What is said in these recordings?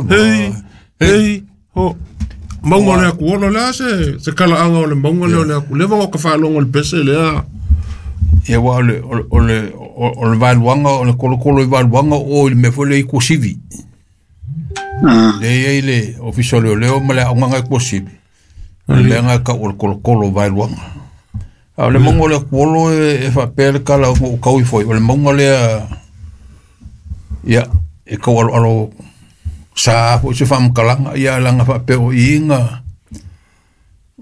Hei, hei, ho. Mauga o le Akuolo, o le a se, se talaaga o le mauga lea o le Aku? Leva ona ou faalogo i le pese lea. Ia aua o le, o le, o le, o le vaeluaga, o le kolokolo i vaeluaga o i le mea foi lea i Tuasivi. Lea e i ai le Ofisa o Leoleo ma le aoga i Tuasivi. O le mea lena e tau o le kolokolo o vaeluaga. A o le mauga o le Akuolo e faapea le tala na ou tau ifo ai, o le mauga lea, ia, e tau aloalo sa foi se faamatalaga, ia leaga faapea o i na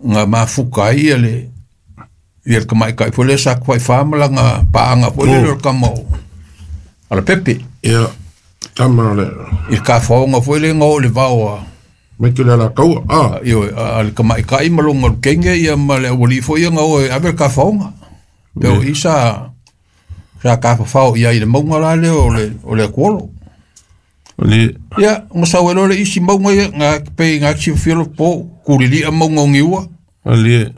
na mafuta ai ia le ia le tamaitai foi lea sa tafaifa ma lana paaga foi lele o le tama o Alapepe. Ia, tama o le I le tafaoga foi lea na oo i le vao a Michael Alataua. Ah, ioe, a le tamaitai ma lona lukenge ia ma le aualii foi ia na o e ave le tafaoga. Pe o i sa sa tafafao i ai i le mauga la lea o le o le Akuolo. le Ia, ona sau ai loa le isi mauga ia, na pei na silafia lo po, Kulilia mauga o Niua. le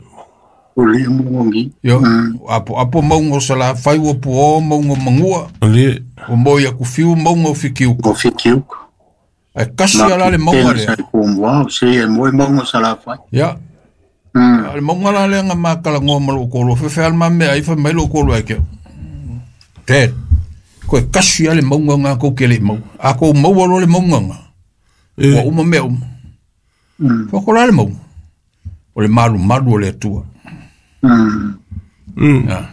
O le mogi. Io, apo apo mauga o Salafai ua puo mauga o Manua, le ua moi aku fiu mauga o Fikiuka. O Fikiuka. Ae kasi ala le mauga lea. Sa ko mua, se e moe mauga Salafai. Ia, a le mauga la lea na matalanoa ma lou toalua, fefe lava le ma mea ai, fai mai lou toalua ia te au, "Dad, toe kasi lava le mauga lena tou te le i maua. A tou maua loa le mauga lena, ua uma mea uma." Fai atu, "O le a le mauga?" O le malumalu o le Atua. Ia.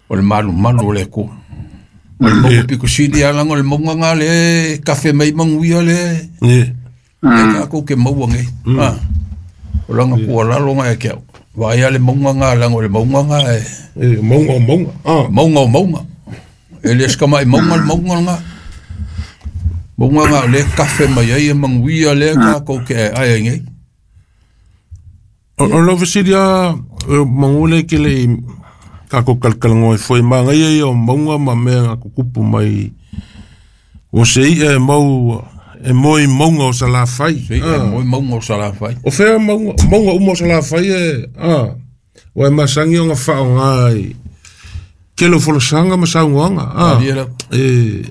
O le malumalu o le Atua. O le mauga pito sili lava leaga o le mauga lena lea e kafe mai ai manuia lea e le lea tatou te maua nei. Ah. O lana tuualalo lena ia te au. Vaai lava le mauga lena leaga o le mauga lena e e mauga o mauga. Ah, mauga o mauga. E le o se tamai mauga le mauga lena. Mauga lena o lea e kafe mai ai manuia lea tatou te aeae ai nei. O lau fesili lava, manu lea e te le i tatou talatalanoa ai foi, manaia ia o mauga ma mea na tutupu mai o se i'a e mau e moe i mauga o Salafai. Se i'a e moe i mauga o Salafai. O fea mauga, mauga uma o Salafai e, a, ua e masani ona faaaoga i tele o folasaga ma saunoaga, a, Malie lava. e,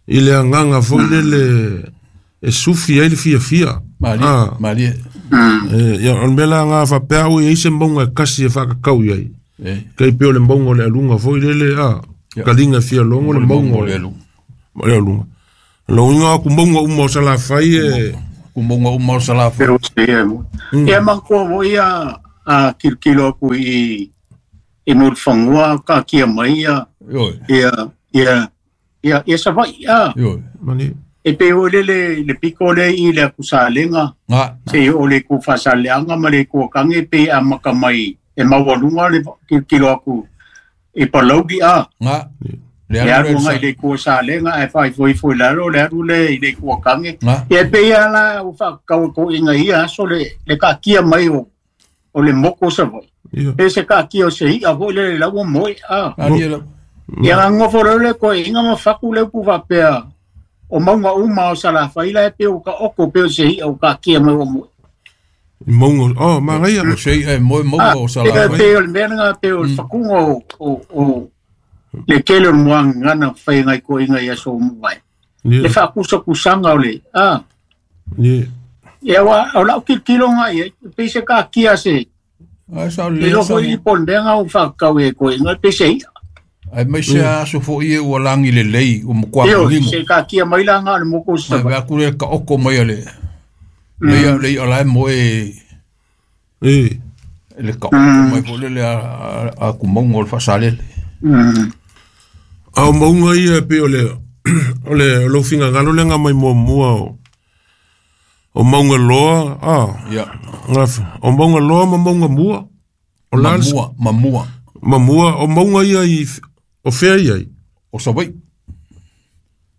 i le agaga foi lele e sufi ai le fiafia. Malie, A, malie. e, ia, o le mea la lena faapea au e i ai se mauga e kasi e faatatau i ai. E, Tai pei o le mauga o le aluga foi lele, a, Ia. kaliga e fia logo le mauga o o le le aluga. o le aluga. Lou uiga aku mauga uma o Salafai e Ku mauga uma o Salafai. Pero se e moe. Ia manatua foi a a kilokilo aku i i Mulifanua kaatia mai ia Ioe, ia ia ia ia Savaii a. ioe. mani E pei foi lele le piko lea i le akusalega Nga, se o le ku faasaleaga ma le kuakaga pe amaka mai e maualuga le kilokilo aku i Palauli a. nga. Le Le alu alu le agai i le itu o Salega ae faaifoifo i lalo le alu lea i le itu o Tage. Nga. Ia e pei lava la ua faakakau e toeaiina i ia aso le le kaatia mai o o le moku o Savaii. ia Pe se kaatia o se i'a foi lele la ua moe a. Malie lava. Ia gagofo loa le toeaiina ma faku le upu faapea o mauga uma o Salafai la e pei ua taoto pei o se i'a ua kaatia mai ua moe. I mauga oh manaia O se i'a e moe mauga o E Salafai. pei o le mea lena pei o le fakuga o o o le tele o le muagagana fai ngai toeaiina i aso ua mavae. Le ia faakusakusaga o le a. ia Ia ua o lau tilotilo agai i ai, pei se kaatia se Ai sa le le iloa sa. foi po o le mea lena ua faakakau e toeaiina pei se i'a. Ai mai se aso foi e ua lagi lelei, ua matua Ioe, manino. se kaatia mai la na o le moku o Mai Savaii. vea atu le taoto mai a le le i'a le i'a la e moe e le taoto mai foi lele a a ku mauga o le Faasalele. A o mauga ia e pei o le o le lou finagalo lea na mai muamua o o mauga loa a Ia, o mauga loa ma mauga mua o la le- mamua, mamua ma mua o mauga ia i o fea ia ai o Savaii.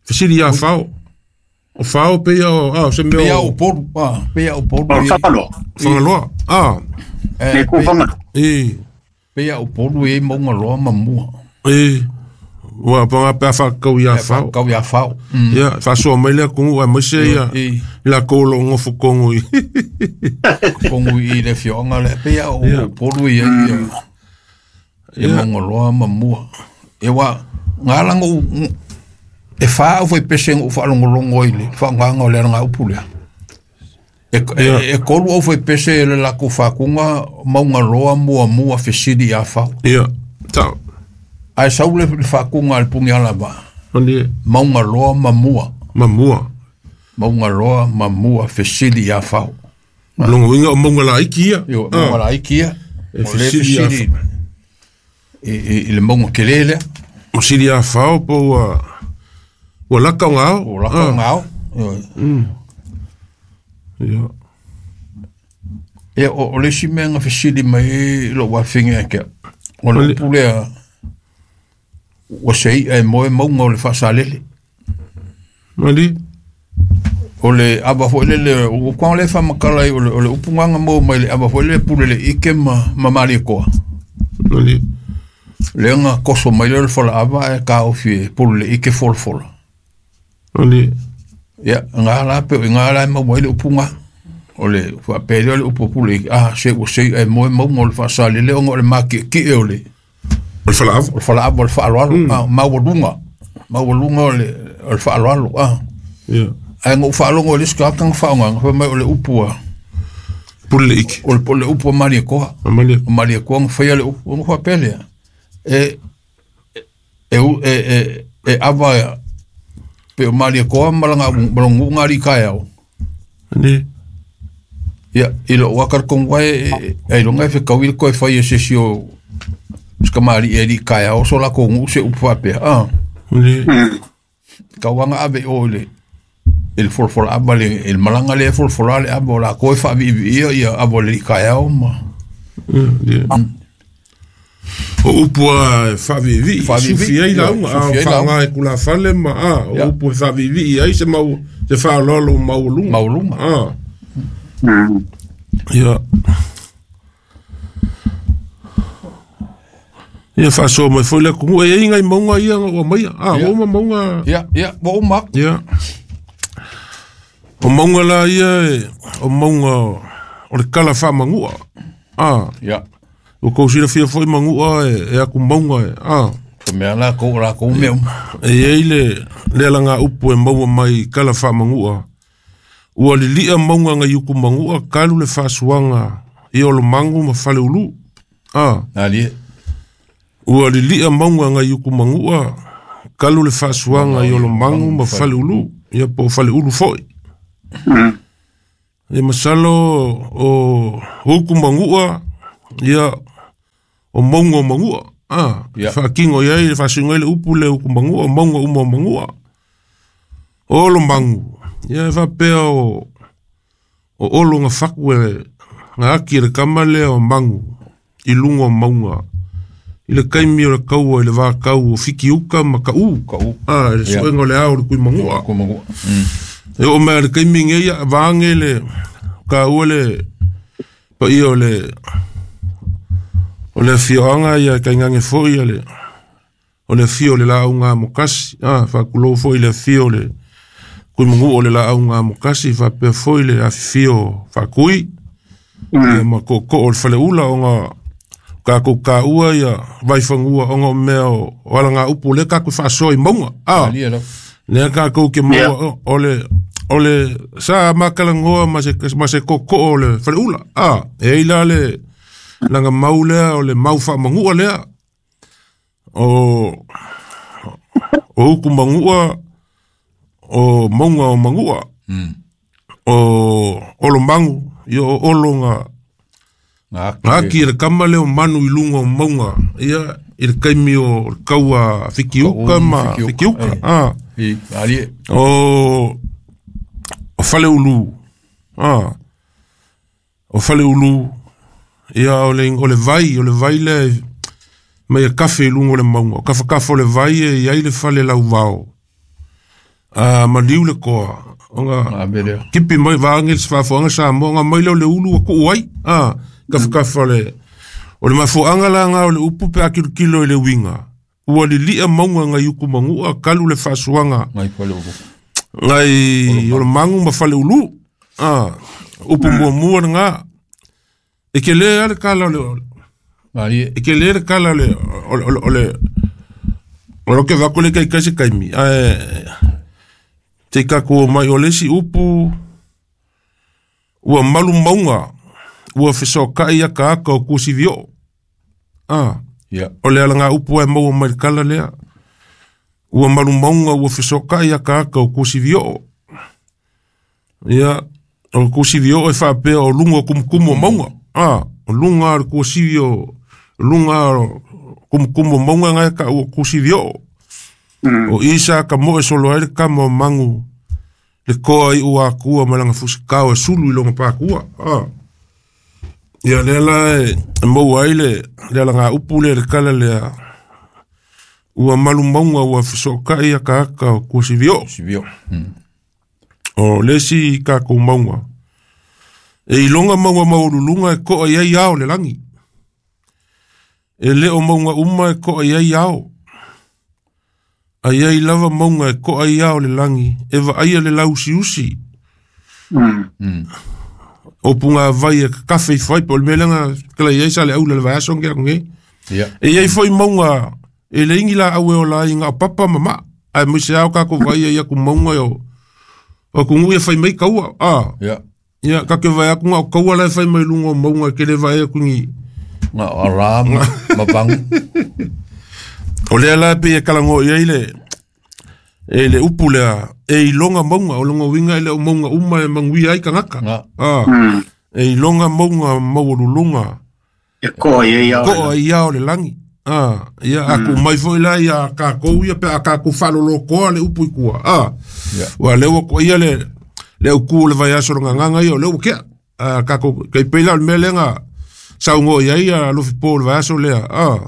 fesili ia fao o fao pe ia o a o se Pei mea a o o Upolu, a, pei a o Upolu O le i ai. Fagaloa, Fagaloa a le Eh, itu pei, Fagaloa. e pei a o Upolu i ai mauga loa ma mua. e ua panga pe a faakau ia E fao faakau ia fao. ia faasoa mai le atunuu aemaise ia I lakou o loo gofotogo i kongu i le fioanga le pei a o Ia. Upolu i ai ia. Ia Ia. mauga loa ma mua. E wa ngā langa u E wha au fai pese ngu whaalongolongo i le whaanganga o le aranga upu lea. E kolu au fai pese le lako whakunga maunga loa mua mua fesili a whau. Ia, tau. Ai sau le whakunga al pungi ala ba. Maunga loa mamua. Mamua. Maunga loa mamua fesili a whau. Longo inga o maunga la iki ia. Io, maunga la iki ia. E fesili a whau. I le maunga kele lea. Fesili a whau po ua... Ua laka o ngao. Ua laka o ngao. Ia. Ia, o le si mea nga fesili mai lo wawhinge ake. O le upu lea, ua sei e moe maunga o le whaasalele. Mali? O le aba fo le, o kwa le whamakala o le upu nganga mō mai le aba fo le pule le ike ma mali koa. Mali? Le nga koso mai le fola aba e ka ofi e pule le ike fola fola. Mali? Ia, ngā la pe, ngā la mau mai le upu ngā. O le whapele o le upu pule, ah, se ua sei e moe maunga o le whaasalele o ngā o le maki ki e o le. O le whalaava. O le whalaava o le whaaloalo, ah, maualunga. Maualunga o le whaaloalo, ah. Ia. Ai ngō whaalongo o le sika akanga whaonga, ngā mai o le upu a. Pule le iki. O le upu a maria koa. A maria. O maria koa ngā whaia le upu, ngā whapele. E, e awa, pe o maria koa malanga malongu ngā rika au. Ani. Ia, i lo wakar kong wai, e longa e whekau koe whai e sesi o skamari e rika au, so la kongu se upu whapea. Ah. Ani. Ka wanga ave o le, il folfola aba le, il malanga le folfola le aba o la koe wha ia ia aba le rika au ma. Ia. O upu a whavivi, sufi ai launga, a whaanga e kula whale ma, a, o upu e whavivi ai se mau, se whaalolo maulunga. Maulunga. A. Ia. Ia whasoa mai foi le kungu, e inga i maunga ia o maia, a, o ma maunga. Ia, ia, o ma. Ia. O maunga la ia, o maunga, o le kala whamangua. A. Ia. O kou sila fia foi mangua e aku maunga e, a. Ko mea la kou la kou mea. E ei le langa upu e maua mai kala wha mangua. Ua lilia maunga ngai uku mangua kalu le whaasuanga i olo mangu ma whale ulu. A. Ali. Ua lilia maunga ngai uku mangua kalu le whaasuanga i olo mangu ma whale ulu. Ia po whale ulu foi. E masalo o uku mangua ia o maunga o mangua. Ah, yeah. Whaakingo iai, whaasingo le upu le uku mangua, o maunga uma o mangua. O olo mangu. Ia e whapea o olo ngā whaku e ngā aki le kama lea o mangu i lunga o maunga. I le kaimi o le kaua, i le wākau o whikiuka ma ka u. Ka u. Ah, le suenga o le ao le kui mangua. Kui mangua. E o mea le kaimi ngeia, vaange le ka ua le pa ia o le o le fioanga ia kaingange foi ia le o le fio le la unga mokasi ah whakulou foi le fio le kui mungu o le la unga mokasi whapea foi le afifio whakui ia ma koko o le whaleula o ngā kākou kāua ia vaiwhangua o ngā mea o ala ngā upu le kākou whaasoa i maunga ah lea kākou ke maua o le sa makalangoa ma se koko o le whaleula ah e ila le langa mau lea o le mau whaamangua lea o uku mangua o maunga o mangua o olo mangu ia o olo ngā ngā le kama leo manu i lunga o maunga ia i le kaimi o le kaua whikiuka ma whikiuka ah o whaleulu ah o whaleulu ia o le vai le mai a kafe i lunga o le maunga o kawhakawha o le vai e iai le whale lau vao a maliu le koa o ngā kipi mai vaange le swafoanga sa mo ngā mai leo le ulu a kuu ai a kawhakawha o le mafoanga la ngā o le upu pe akilokilo i le winga ua lilia maunga ngai uku mangua kalu le whaasuanga ngai o le mangu ma whale ulu a upu muamua ngā e ke le ale kala o le e ke le kala o O lo ke va kole kai kai se kaimi. Ae te kako mai o lesi upu ua malu maunga ua fesokai ia ka aka o kusivio. Ah. Ia. O le ala ngā upu e maua mai le kala lea. Ua malu maunga ua fesokai ia ka aka o kusivio. Ia, o kusivio e whaapea o lunga o kumukumu o maunga. Ah, o lunga o kusivio, lunga o kumukumu o maunga ngai ka o kusivio. O isa ka moe solo ai le kama o mangu. Le koa i ua akua malanga fusikao e sulu i longa pākua. Ah. Ia lea la e maua ai le ala ngā upu lea le kala lea. Ua malu maunga ua fesokai ia ka aka o kuasivio. Sivio. O lesi kākou maunga. E ilonga maunga maululunga e koa iai ao le langi. E leo maunga uma e koa iai ao. Ai ai lava maunga e koa iai ao le langi. E vaaia le lausiusi. O punga vai e kafe i whai, po le melanga kala iai sa le aula le vaiaso nge aku nge. Ia. E iai foi maunga, e le ingi la aue o la inga o papa mama. Ai muise au kako vai ia ku maunga o o kungu ia whai mai kaua. Ah. Ia. Ia, kake vai aku ngā o kaua lai whai mai lunga o maunga ke le vai aku ngi. Ngā ara ma pangu. O lea la pe e kalango ia i le e le upu lea e ilonga maunga o longa winga e le o maunga uma e manguia ai kangaka. Ngā. Ah. E ilonga maunga maualulunga. E koa ia ia. Koa ia o le langi. Ah, ia aku mai foi la ia kākou ia pe a kākou whalolokoa le upu i kua. Ah. Ia. Ua lewa ko ia le le uku le vai aso longa nganga ia o lewa kea. Ah, kākou kei peila o le mea lenga saungo ia ia lofi po le vai aso lea. Ah.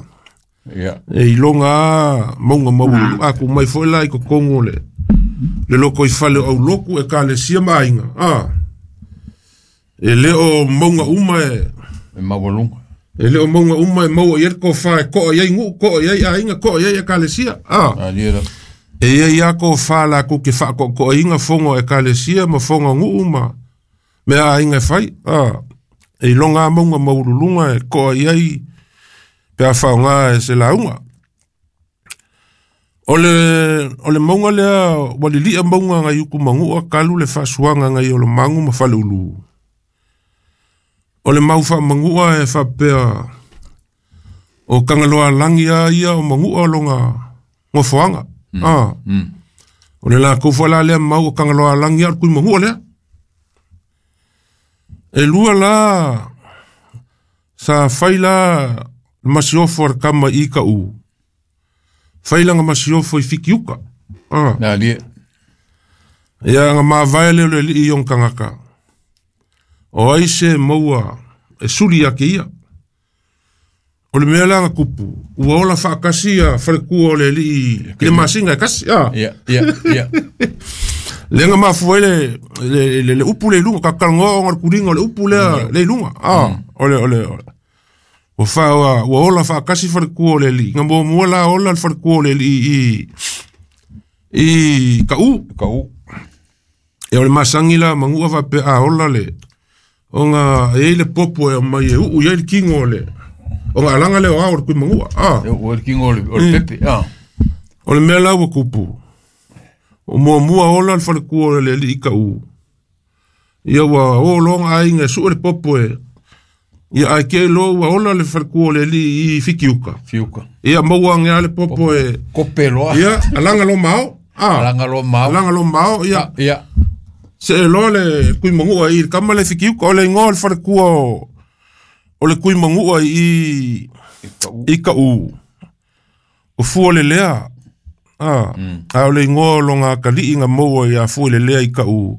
Ia. E ilonga maunga maulu aku mai foi la i kokongo le le loko i fale o auloku e ka le sia mainga. Ah. E leo maunga uma e E maualunga. E leo maunga uma e maua i ko wha e koa iai ngu, koa iai ainga, koa iai e kalesia. Ah. A lia la. E ia ia ko wha la ku ke wha ko koa inga fongo e kalesia ma fongo ngu ma mea ainga e whai. Ah. E ilonga maunga maululunga e koa iai pe a whaonga e se launga. O le maunga lea walilia maunga ngai uku mangua kalu le whasuanga ngai o le mangu ma whale ulu. O le mau wha mangua e whapea o kangaloa langi a ia o mangua longa ngofoanga. Ah. O le la koufa la lea mau o kangaloa langi a kui mangua lea. E lua la sa whai la masiofo ar kama i ka u. Whai langa masiofo i fikiuka. Ah. Nā lia. Ia nga māwae leo le li i yong kangaka. O ai se maua e suli ake ia. O le mea langa kupu. Ua ola whaakasi a wharekua o le li i le masinga e kasi. Ah. Ia, ia, ia. Lenga mafua le upu le lunga. Kakalangoa o ngā kuringa o le upu lea le lunga. Ah. O le, o le, o le. O wha, ua ola whaakasi wharekua o le li. Ngā mua mua la ola le wharekua o le li i ka u. Ka u. E o le masangi la mangua whape a ola le. O ngā e le popo e o mai e uu ia le kingo le. O ngā alanga le o ao le kui mangua. Ah. E o le kingo o le pepe. Ah. O le mea lau o kupu. O mua mua ola le wharekua o le li i ka u. Ia ua o longa ainga su le popo e. Ia ai ke lo ua ola le wharekua o le li i fikiuka. Fiuka. Ia maua ngea le popo e. Kope loa. Ia alanga lo mao. Ah. Alanga lo mao. Alanga lo mao. Ia. Ia. Se e loa le kui mangua i kama le fikiuka o le ingoa le wharekua o le kui mangua i i ka u. O fua le lea. Ah. A o le ingoa o longa kali'i ngā maua i a fua le lea i ka u.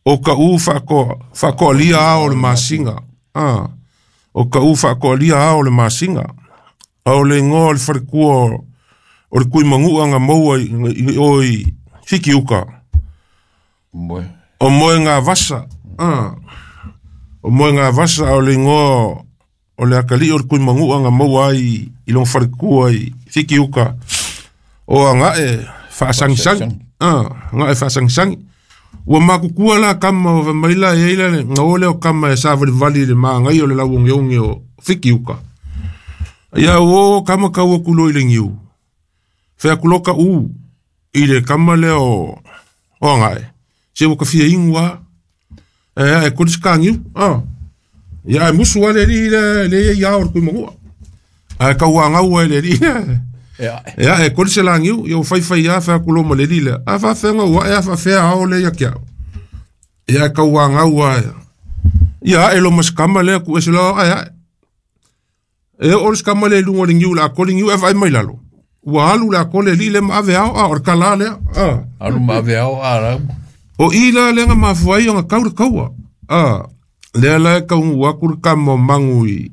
O ka u whakoa lia ao le masinga. Ah. O ka u whakoa lia ao le masinga. A o le ingoa o le wharekua o le kui mangua ngā maua i o i fikiuka. Moe. O moe ngā vasa. Ah. O moe ngā vasa o le ingoa o le akali o le kui mangua ngā maua ai i long wharekua i fikiuka. O a ngā e whaasangisangi. Ah, ngā e whaasangisangi. Ua makukua la kama o maila e eila le ngā ole o kama e sāwari vali le maa ngai o le lauonge onge o fikiuka. Ia o kama kaua kulo i le ngiu. Fai atu loa kaʻu i le kama lea o Agae, se ua ka fia inu lava, ae ae koli se kagiu, a. Ia ae musu lava le alii lea lea e i ai ao o le Tuimanua. Ae tauagau ai le alii lea. E ae. E ae koli se lagiu, ia ua faifai lava fai atu loa ma le alii lea. A faafefea ona ou ae a faafefea ao lea ia te au. Ia ae tauagau lava. Ia ae loa ma se kama lea tuu ese loa ae ae. E oo le kama lea i luga o le niu o le a koli niu ae vaai mai lalo. Ua alu le a koli e le alii lea ma ave ao, a o le tala lea. A. Alu ma ave ao a lau. O i la lea na mafua ai ona tau le taua. A, lea la e taunuu atu le kama o Magu i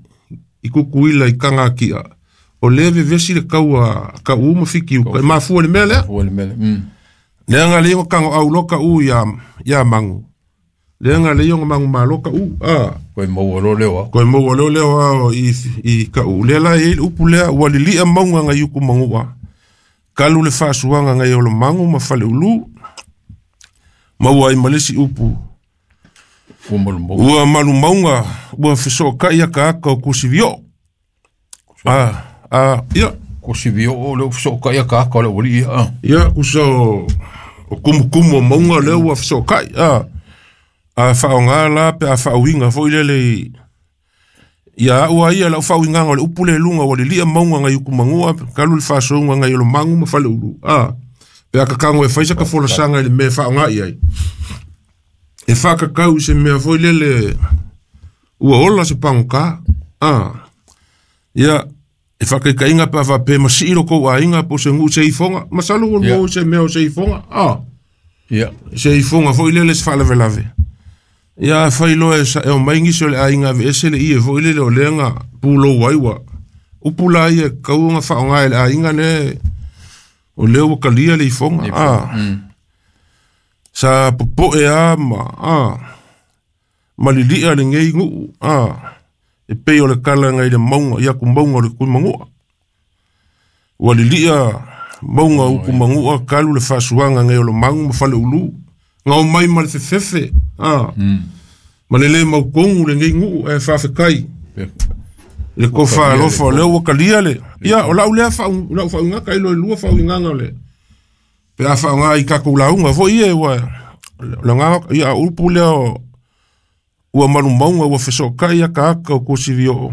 Tutuila i Tagatia. O lea e vevesi le taua a Kaʻū ma Fitiuta. E mafua i le mea lea. Mafua i le mea lea. Lea na alai ona tagoau loa Kaʻū ia Magu. Lea na alai ona manumalo Kaʻū. A. Koe maua loa leo ao. Koe maua loa leo ao i Kaʻū. Lea la e i ai le upu lea, ua lilia mauga nai Utumanua. Kalu le faasuaga nai Olomagu ma Faleulu. Maua ai ma le isi upu. Ua malumauga. Ua malumauga, ua fesootai akaaka o Kusivio. A, a, ia. Kusivio o lea ua fesootai akaaka o le aualii ia. A. Ia, kusa o kumukumu o mauga lea ua fesootai. A, a faaaoga la pe a faauiga foi lele i ia au a ia lau faauigaga o le upu lea i luga ua lilia mauga nai Utumanua kalu le faasouga nai Olomagu ma Faleulu. A, pe a kakago e fai sa ka folasaga i le mea e faaaoga i ai. E faakakau i se mea foi lele ua ola se pagota. A, ia, e faakaikaina pe a faapea masii lo kou aiga po o se nuu se ifoga. Masalo ua lua se mea o se ifoga. A, se ifoga foi lele se faalavelave. Ia afai loa e saeo mai nisi o le aiga aveese le ie foi lele o lea na pulou ai ua upu la ia e tatau ona faaaoga e le aiga lea o lea ua talia le ifoga. A, sa popoe lava ma a malilia lenei nuu. A, e pei o le tala nai le mauga i atu mauga o le Tuimanua. Ua lilia mauga o Utumanua kalu le faasuaga nai Olomagu ma Faleulu. Na omai ma le fefefe, a, ma le le mautonu lenei nuu ae faafetai le tofa alofa o lea ua talia le. Ia, o lau lea lau faauigaga tailo e lua faauigaga o le pe a faaaoga i tatou lauga foi ia ua o le agaga ia upu lea o ua malumauga ua fesootai akaaka o Kusivio.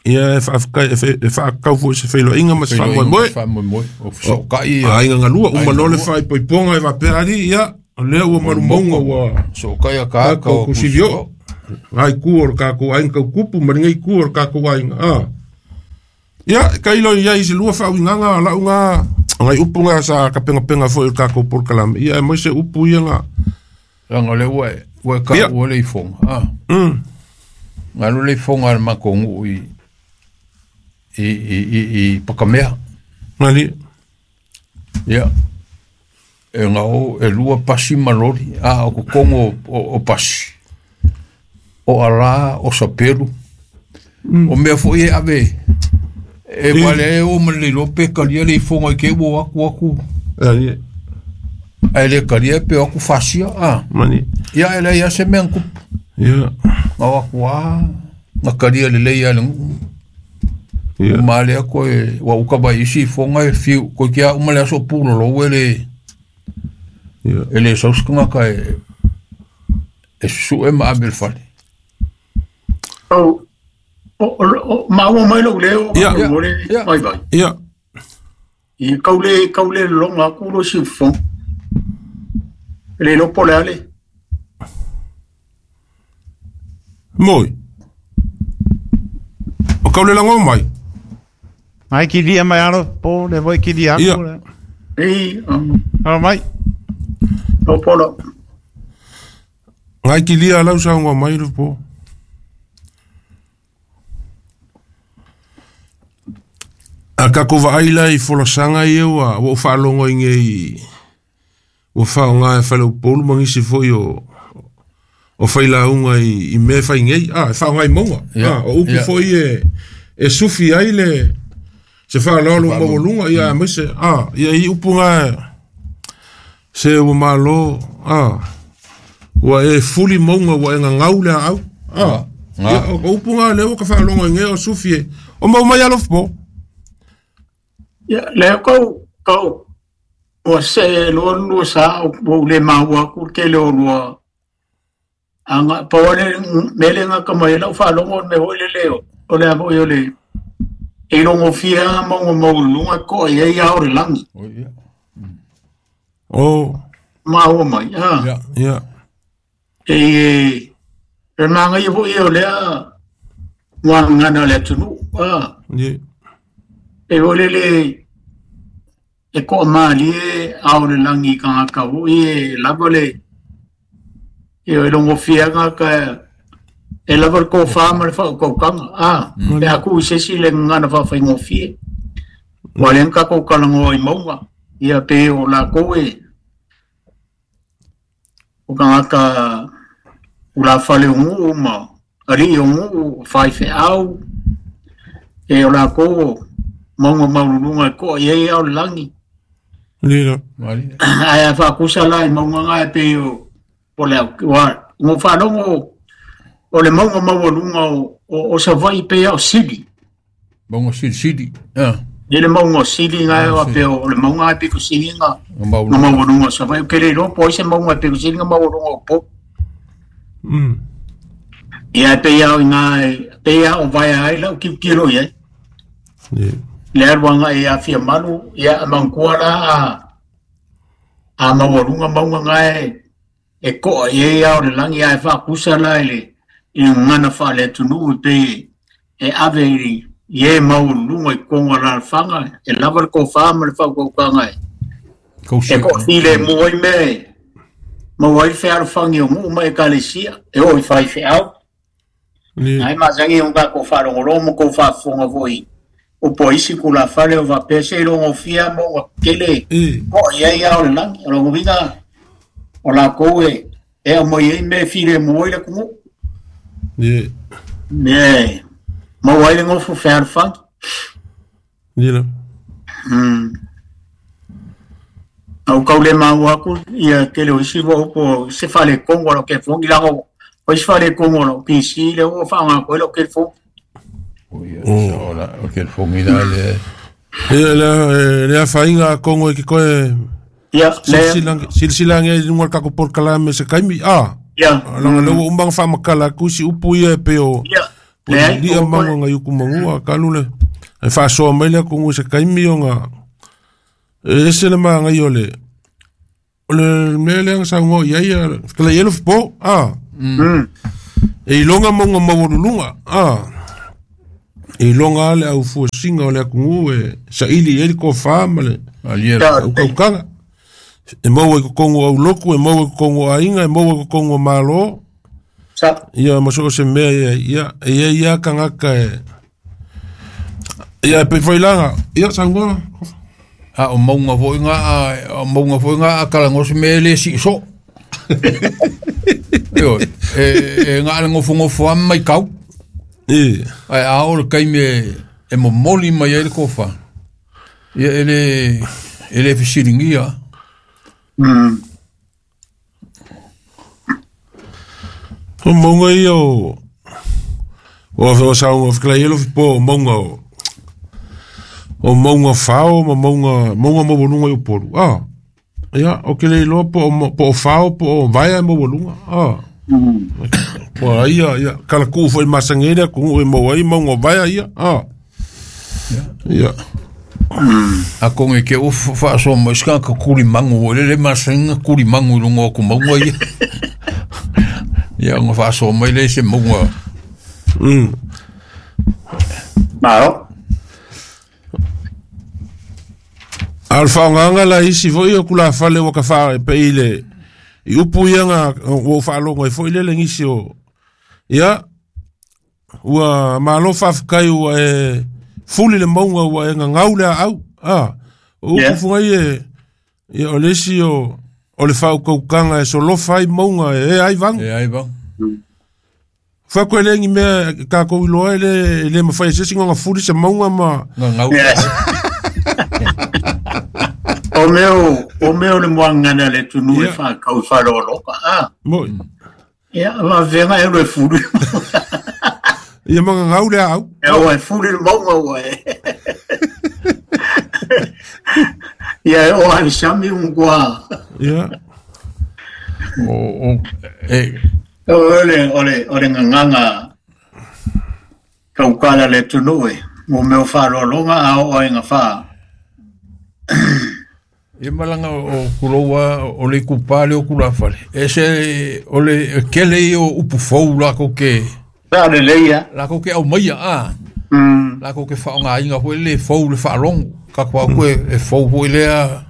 Ia e faafetai e faakau foi se feiloaiga ma se faamoemoe. Faamoemoe. O fesootai ia. Aiga galua uma loa le faaipoipoga e faapea alii ia o lea ua malumauga ua Fesootai akaaka tatou o Kusivio. Ngai ku o le tatou aiga tautupu ma lenei ku o le tatou aiga. A. Ia, tailo i ai se lua faauigaga o lau ga ngai upu ga sa kapengapenga foi o le tatou polokalame. Ia aemaise upu ia ga. Leaga o lea ua e taua le ifoga. A. Na alu le ifoga a le matou nuu i Pakamea. Mali. Ia. E gao e lua pasi ma loli. A o totonu o pasi. O ala, o sapelu. O mea foi e ave. E wale e o ma le iloa pe kalia le ifoga i ke ua aku aku. Ali. Ae le kalia pe o aku fasia. A. Mani. Ia e leai lava se mea na tupu. Ia. Na o aku lava, na kalia lelei lava i le nuu. Ia. Uma lea koe, ua uka mai isi ifoga e fiu, koe kia uma le aso pulolou e le, Ia. e le sau se tagata e susue ma ave i le fale. O maua mai lou leo, Ia. mo le Ia. vai vai. Ia. I kau le loga aku lo siufogo. Le iloa po o le a le. Moi. O kau le lago mai. Mai kilia mai alo po le voi kilia Ia. aku le. Ei, Alo mai. o polo. Ngai kilia lau saunga mai le po. A kako vaai la i folasaga ia ua ou faalogo i nei ua faaaoga e faleupolu ma nisi foi o failauga i mea e fai nei. A, e faaaoga i mauga. Ia, A, o upu ia. foi e sufi ai le se faaaloalo maualuga ia aemaise. A, ia i upu ga se ua malo. A, ua e fuli mauga ua e gagau le aau. A, Nga. ia, o upu ga lea ua ka faalogo i nei o sufi e. O mau mai alofa po. Ia, lea kau, Kau ua see loa lua sa ua ou le maua aku le tele o lua aga pau lava le mea lea e gata mai ai lau faalogo o le mea foi lele o le a foi o le e ilogofie lava mauga maualuluga e to'a i ai ao o le lagi. O. Maua mai a. Ia. E e manaia foi ia o lea muagagana o le atunuu a. Ia. E foi lele e toamalie ao o le lagi i tagata foi e lava le e logofie lava tagata e lava le tofa ma le faautautaga a. Pe a tuu i se isi le gagana faafaigofie. Ua lea na tatou talanoa i mauga ia pe o latou e o tagata tulafale o nuu ma alii o nuu, o faifeau, e o latou o mauga maualuluga e to'a i ai ao le lagi. Lila. Ae a faatusa la i mauga na e pei o le au, ua ou faalogo o le mauga maualuga o Savaii pei lava o Sili. Mauga Silisili. E le mauga o Sili na e pei o le mauga e pito sili na maualuga o Savaii. Ou te le iloa po o ai se mauga e pito sili na maualuga o Upolu. Ia e pei lava o i ina e pei lava o vaea ai lau tilotilo i ai. Le alu agai ia Fiamalu, ia a manatua la a maualuga mauga na e to'a i ai ao o le lagi ae faatusa la i le gagana faale-atunuu e pei e ave i e maualuluga i totonu o alaalafaga e lava le tofa ma le faautautaga e toafilemu ai mea e maua ai le fealofani o nuu ma ekalesia e oo i faifeau. Ae masani ona tatou faalogologo ma tou faafofoga foi upu a isi tulafale o faapea se ilogofie lava mauga tetele to'a i ai ao o le lagi. O lona uiga o latou e aumai ai mea e filemu ai le atunuu. Mea e maua ai le nofo fealofani. A ua tau le maua atu ia tele o isi upu se faaletonu o lau telefoni leaga o isi faaletonu o lau PC lea ua faaaoga atu ai lau telefoni. O telefoni la le. Ia le afaina atonu e ke koe silasila ane ai i luga o le tatou polokalame se taimi a. Leaga lea ua uma ona faamatala atu isi upu ia e pei o lia mauga nai utu manua talu le e faasoa mai le atunuu i se taimi ona e ese le manaia o le o le mea lea na saunoa i ai fetalai ai Alofipo a. E iloga mauga maualuluga a. E iloga lava le aufuasina o le atunuu e saili i ai le tofa ma le utautaga. E maua i totonu o aulotu, e maua i totonu o aiga, e maua i totonu o Malo. Ia ma so o se mea ia, ia, e i ai lava tagata e... Ia e pei foi la, ia saunoa. A o mauga foi ngā, o mauga foi ngā a talanoa se mea e le sii soo. Ioe, e ngā le ngofongofo a mai kau. Ae a oo le taimi e momoli mai ai le tofa, ia e le fesiligia. O mauga ia o o saunoa fetalai ai Alofipo o mauga o o mauga fao ma mauga mauga maualuga i Upolu. A ia ou te le iloa po o po o fao po o vaea e maualuga. A po o ai ia ia kalatuu foi masani ai le atunuu e maua ai mauga o vaea ia. A ia Atonu e te ua faasoa mai se tagata tulimagu foi lele masani ona tulimagu i luga o atu mauga ia. Ia ona faasoa mai lea i se mauga. Malo. A o le faaaogaga la isi foi o tulafale ua ka pei le i upu ia na ua ou faalogo ai foi lele nisi o ia ua malo faafetai ua e fuli le mauga ua e gagau le aau. A o upu fugai e ia o le isi o le faautautaga e solofa ai mauga e ea ai vagu. E ai vagu. Fai atu e le ni mea e tatou iloa e le mafai e se isi ona fuli se mauga ma gagau. O mea o le muagagana a le atunuu e faatau i faaaloaloga. A. Moi. Ia, faafefea e alu e fuli. Ia ma gagau le aau. E ua e fuli le mauga ua e. Ia o ai sami un kua. Ia. O e ole nganga kaukala le tunue mo meo whaalologa a o ai ngā wha. Ia malanga o kuloua o le kupa le o kulafale. E se o le kele i o upu fou la ko ke. Sa le leia. La ko ke au maia a. La ko ke whaonga inga hoi le fou le whaalongo. Ka kua koe e fou hoi lea.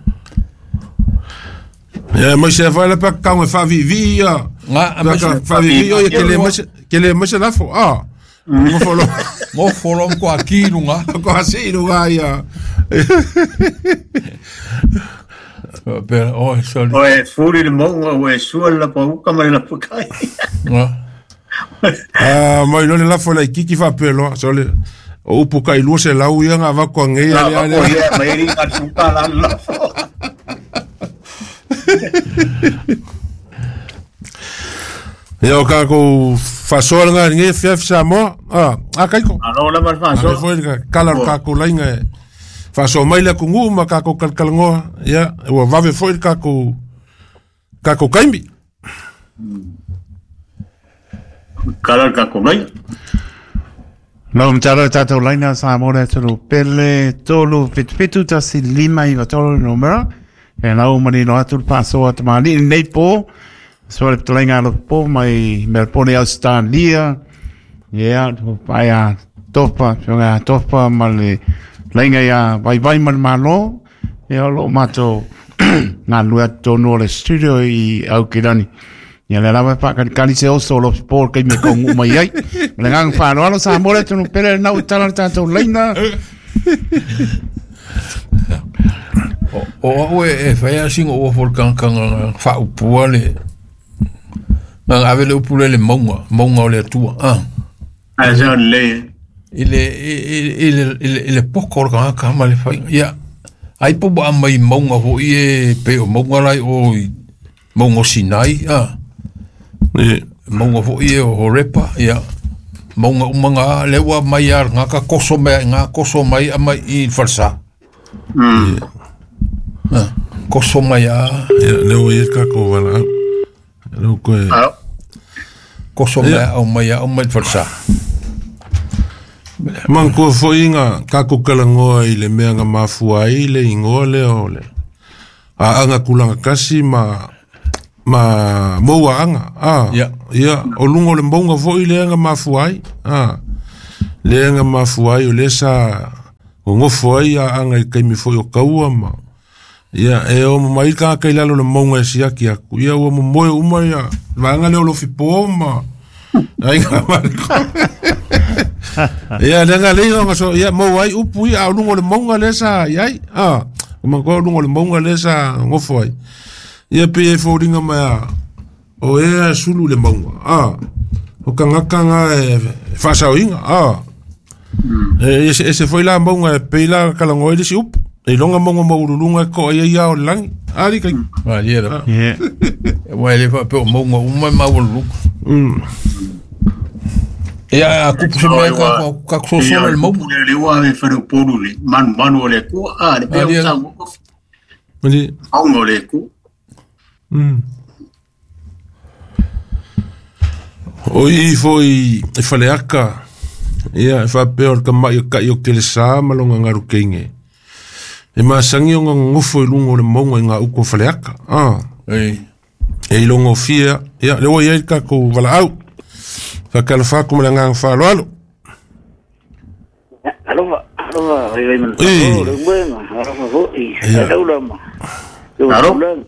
Ia mai se whae le paka kaunga whaavivi ia. Ngā a mai se whaavivi o ia ke le mai se lafo. A. Ngofolo. Ngofolo mko a ki lunga. Ko a si lunga ia. Pero oh sorry. Oe furi le monga oe sua la pauka mai la pakai. Ah mai lo le lafo la kiki fa pelo sole. O upu kai lua se lau ia ngā vako ngei ale ale. Ia mai ri ngā tuka la lafo. Ia o kākou whasoa ngā nge fiaf Samoa. Ah, kaiko. Alo la mar whasoa. Ale foi ka kala o kākou lainga e. Whasoa mai le kungu ma kākou kalkalangoa. Ia, ua vave foi kākou kaimi. Kala kākou lainga. Lau mtaro tātou laina Samoa le atunu pele tolu fitu tasi lima iwa tolu numera. E lau manino atu le pasoa tamani nei pō. So le ptalenga alo pō mai Melbourne Australia. Ia, pai a topa, fionga a topa ma le lainga ia vai vai ma le malo. Ia o loo mātou ngā lua tonu o le studio i Aukirani. Ia le lawa whakanikani se oso o lo pō kei me kaungu mai ai. Ma le nganga whāroalo Samoa le tunu pere nau tala le tātou laina. O au e whaia singo o fol kanga whaupua le ngā ave le upule le maunga o le atua. A se o le. I le poko o le kanga ma le whainga. Ia, ai po ba mai maunga ho i e pe o maunga lai o maunga o Sinai. Maunga ho i e o Horepa. Ia, maunga umanga lewa mai a ngā ka koso mai, ngā koso mai a mai i falsa. Koso mai a. Ia, leo i e kako wala. Leo koe. Koso mai au mai a au mai falsa. Man kua foi ngā kako kalangoa i le mea ngā mafua ai le ingoa lea o le. A anga kulanga kasi ma maua anga. Ia, o lunga o le maunga foi le anga mafua ai. Le anga mafua ai o le sa ngofo ai a anga i kaimi foi o kaua ma. Ia, e o mai ka kai lalo le maunga e siaki aku. Ia, ua moe uma ia. Vaanga leo lo fipo ma. Ai ngā mariko. Ia, le ngā leo nga so, ia, mau ai upu ia, au lungo le maunga le sa, iai. O mangoa lungo le maunga le sa ngofo ai. Ia, pe e fōringa mai o ea sulu le maunga. O kangaka ngā e whasaoinga. E se foi la maunga e peila kalangoa i le si upu. E longa mongo maurulunga e ko ai ia o langi. Ali kai. Ah, ia la. Wa le fa pe o mongo uma maurulunga. Ia a kupu se mai ka so so le mo. Le wa me fa polu le manu le ku a le pe o sa mo. Mani. Au mo le ku. O i foi e faleaka. Ia e fa pe o ka mai ka i o ke le sa malonga ngaru keinge. E masangi o ngā ngofo i lungo le maunga i ngā uko whaleaka. E i longo fia. Ia, lewa i ai kākou wala au. Whakalawhaku ma le ngā whaaloalo. Alofa, alofa, vai vai mana. Le uenga, alofa foi. Alo lama. Alo.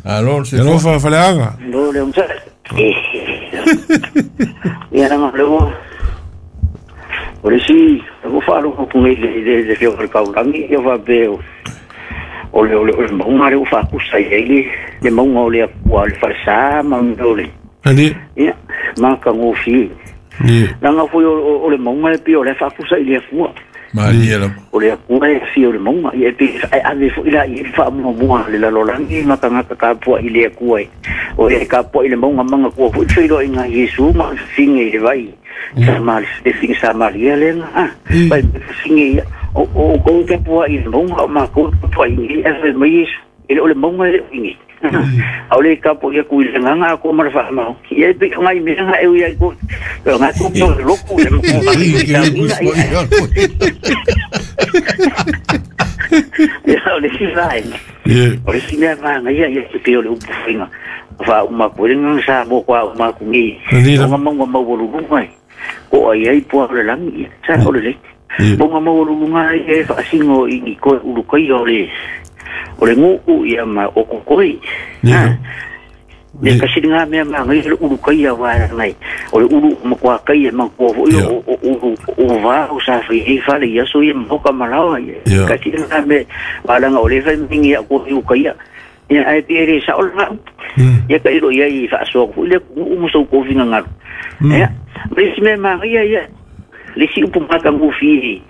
Alo, se alofa whaleaga. Lo le umsa. Ia na le o. Ore si, o falo ko ngi le le o kaulangi ia va be o le maunga le o fa kusa i le maunga o le wa le falsa maunga le. Ali. Ia, ma ka ngofi. Ni. Langa foi o le maunga le pio le fa kusa i le fua. Ma ia la. O le kua e fi o le maunga ia pe ave foi la i fa mo mo le la lolangi ma ka ka pua i le kua. O le ka pua i le maunga manga kua foi foi lo inga Yesu ma finge le vai. Sa mal le finge sa maria le na. Vai finge O kou te pua i maunga o mākou te pua i e fai mai e le o le maunga e le ingi. Au le kapo ia kui le nganga ako mara wha mau. Ia e pika ngai mea nga e ui ai ko. Nga ko ko loku le mako. Ia o le si vai. O le si mea vanga ia ia te peo le upu whinga. Wha uma ko le nganga sa mo kwa uma ku ngi. O nga maunga maualulunga e. Ko ai ai pua o le langi. Sa o le le. Maunga maualulunga e whaasingo i ngi koe ulukai o le o le nguu ia ma o kokoi. Ne kasi ngā mea maa ngai le ulu kai a wā ngai. O le ulu makua kai e makua foi o ulu o vā o sa whai e whale ia so ia mahoka malawa ia. Kasi ngā mea wālanga o le whai mingi a ko i ukai ia. Ia ai pere sa o ngā upu. Ia ka iro ia i whaasoa ko le nguu musau kōwhinga ngaru. Ia, le si mea maa ngai ia. Le si upu maka ngufi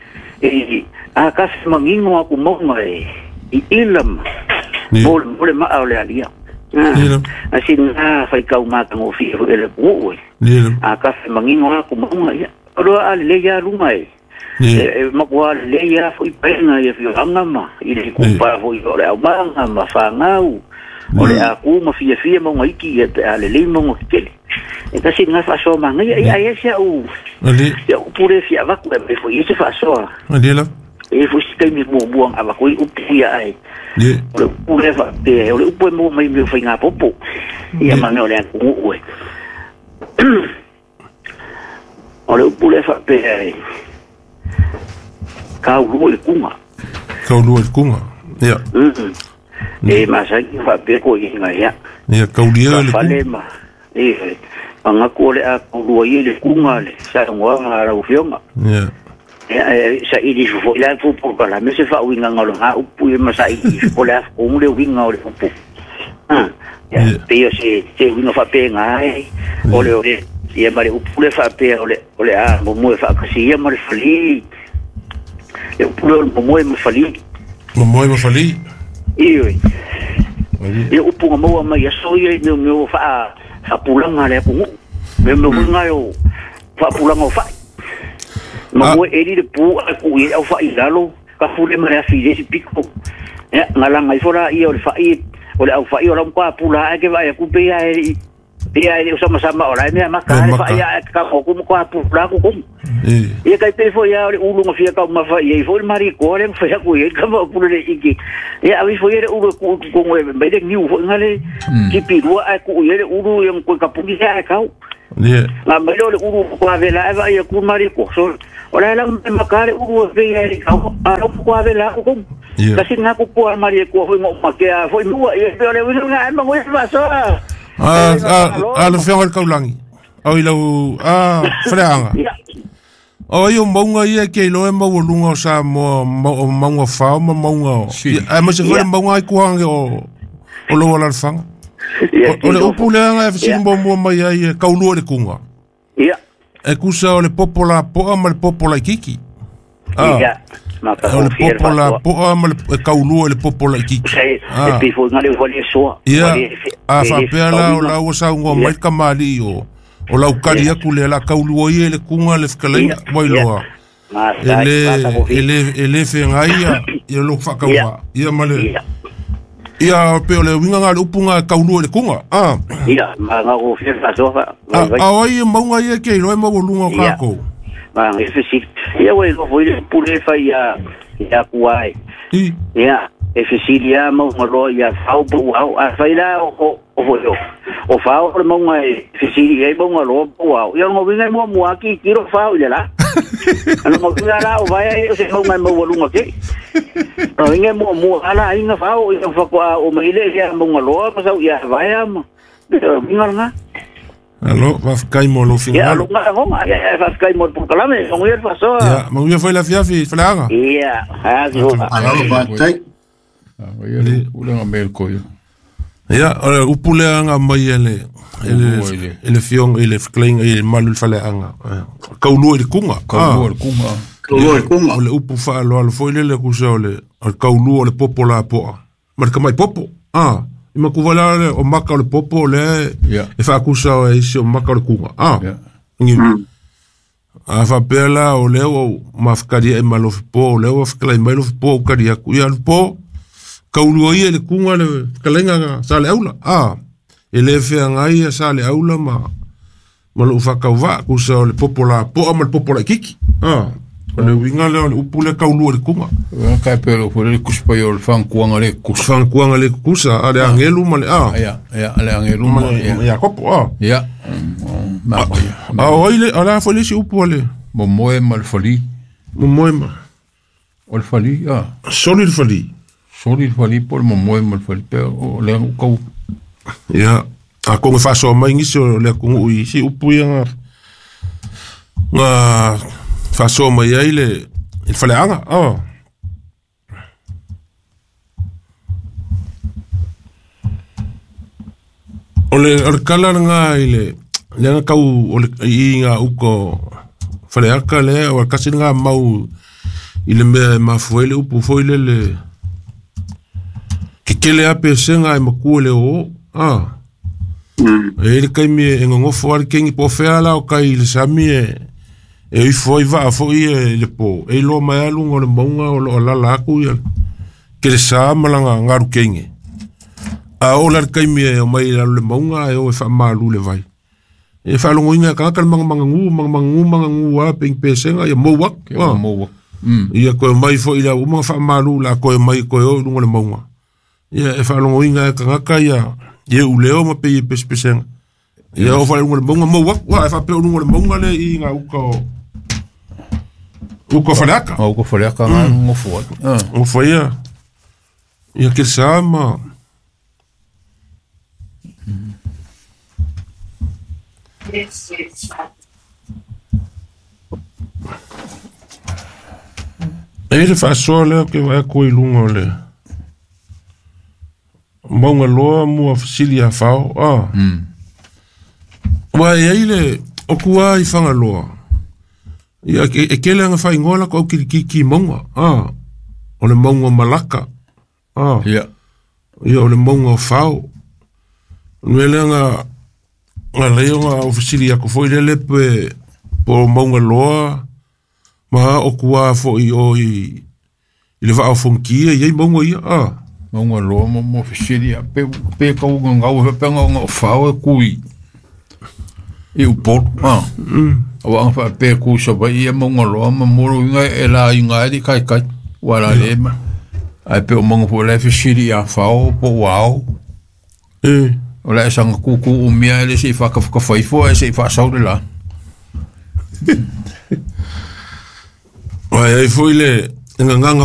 e a kasi mangingo aku maunga e. I ilam mo le maa o le alia. Asi ngā whai kau māka ngō whia e le kuu e. A kafe mangingo aku maunga ia. Oroa a le ia runga e. E makua le ia fui penga ia whio anga ma. I le kupa fui o le au maanga ma whangau. O le aku ma whia whia maunga iki ia te a le lei maunga kikele. E kasi ngā whasoa maanga ia. Ia ia sia u. Ia upure whia waku e me fui se whasoa. E fui si taimi muamuang awa koi upu ia ai. O le upu le wha o le upu e mua mai meo whai ngā popo. Ia manga o le aku nguu e. O le upu le wha pe ai. Kau lua i kunga. Kau lua i kunga, ia. E masaki wha pe ko i inga ia. Ia, kau lia le kunga. E, mangaku o le a kau lua i le kunga le. Sa ngoa ngā rau whionga. Ia. Sa ili fo ila fo po kala me se fa winga ngalo ha upu e masa ili fo la ko le winga o le upu ya pe se se winga fa pe ngai o le ia mare upu le fa pe o le a mo mo fa kasi ia mare fali le upu le mo mo mo fali mo mo fali i e upu mo ma ia so ia me me fa fa pulanga le ku me me winga yo fa pulanga fa ma mo e le pu a ku i au fa i lalo ka fule mare a file si piko ya ngalanga i fora i o le fa i o le au fa i o la mpa pula e ke vai ku pe ia e pe o sama sama o la mea maka le fa ia ka ko ku ko pula ku ku ia kai pe fo ia o le ulu ngafia ka ma fa ia i fo le mari ko le fa ku ia ka ma pula le iki ia avi fo ia le ulu ku ku ngwe me le niu fo ngale ki pi rua a ku ia le ulu ia ko ka pungi ia kau. La mai le uru ko avela eva ia ku mari ko so ora la me makare uru ve ia ka a ro ko avela ko kasi nga ko ko mari ko foi mo makea foi mua ia le uru nga ma mo fa so a le fer kaulangi o ila a freanga o io maunga ia ke lo e maualunga o sa mo maunga fa ma maunga a mo se foi maunga ku hange o lo la fanga. O le upu leanga e whisimbo mua mai ai e kaulua le kunga. Ia. E kusa o le popo la poa ma le popo la ikiki. Ia. O le popo la poa ma le kaulua le popo la ikiki. E pifo ngā le wale soa. Ia. A whapea la o lau sa ungoa mai ka maali o lau kari aku le la kaulua ia le kunga le whakalaina wailoa. E le whengai ia lo whakaua. Ia ma le... Ia pe o le winga ngā le upunga kaulua le kunga. Ia, ma ngā o whia whasoa. A oi e maunga ia ke iloe maualunga o kākou. Ma ngā whisi. Ia wei lo foi le pule whai ia kuai. Ia, e whisili ia maunga loa ia whau pau au. A whai la o foi o. O whau o le maunga e whisili ia maunga loa pau au. Ia ngā winga mua mua ki kiro whau i le la. Ano ngā winga la o vai ai o se maunga e maualunga ke. No inge mo mo ala inga fao ia fa o maile ia monga loa ma sau ia vai ama inga nga alo va kai mo lo final ia lo nga ngo ia va kai mo por kalame ngo ia fa so ia mo ia foi la fiafi flanga ia ha so alo va tai ia le ulenga mel ko ia ia upule anga mai ele ele fiong ele fkling ele malul fale anga kaulua le kunga kaulua le kunga O le upu whaaloalo foi lele kusa o le kaulua o le popo la poa. Ma le kamai popo. I makuvala le o maka o le popo o le e whaakusa o e isi o maka o le kunga. Ngi. A faapea la o lea ua ou mafakalia'i ma Alofipo, o lea ua fetalai mai Alofipo ou kali atu. Ia Alofipo, kaulua ia i le kuga le fetalaiga sa le aula. A, e le feagai ia sa le aula ma lou faatauvaa, tusa o le popo lapoa ma le popo laititi. A, o le uiga lea o le upu lea kaulua i le kuga. Kai pe lo foi le kusi pai o le fankuanga le kusa. Fankuanga le kusa, a le angelu ma le a. Ia, ia, le angelu ma ia kopo a. Ia. Ma a o ile ala foi le si upu ale. Mo moe ma le fali. Mo moe ma. O le fali a. Soli le fali. Soli le fali po le mo moe ma le fali pe o le kau. Ia, a konga faso mai ngisi o le kungu i si upu ia nga nga faso mai ai le il faleaga. Ah. O le kala nga i le le nga kau o le i nga uko faleaka le o kasi nga mau i le mea mafue le upu foi le le ke kele ape senga e makua le o ah. E le kai mi e ngongofo ale kengi po fea la o kai le sami e ifo i vaa foi e le po e lo mai alu ngo le maunga o lo lala aku ia ke le sa malanga ngaru kengi a o la kai mi e o mai la le maunga e o e fa malu le vai e fa longo inga ka ka manga manga ngu manga manga ngu manga ngu a ping pesenga ia mo wak mo wak ia ko mai foi la uma fa malu la ko mai ko o lungo le maunga ia e fa longo inga ka ka ia ye uleo ma pe pespesenga ia o fa lungo le maunga mo wak wa e fa pe lungo le maunga le i nga uka uka falaka uka falaka nga ngofo ngofo ia ia ke sama E le faasoa lea ke vaea koe i luga o le mauga loa mua fesili a fao a. Ua e ai le o kua i Fagaloa. Ia e kele anga faaigoa la ko au kilikiki mauga a. O le mauga malaka a. Ia. Ia o le mauga o fao. Nue lea nga leo nga o fesili ako foi lele pe po mauga loa ma o kua foi o i le vaa o fonkia i ai mauga ia a. Mauga loa mo fesili a pe pe kau ngau pe ngau fao e kui i upolu a. Awa anga fa pe ku sa vai ia mauga loa ma moro inga e la inga e kai kai wala le ma ai pe o mauga po le fesili a fao po wao. E o le sanga kuku umia ele se whakawhakafaifo e se whaasaure la. Ai ai foi le nganganga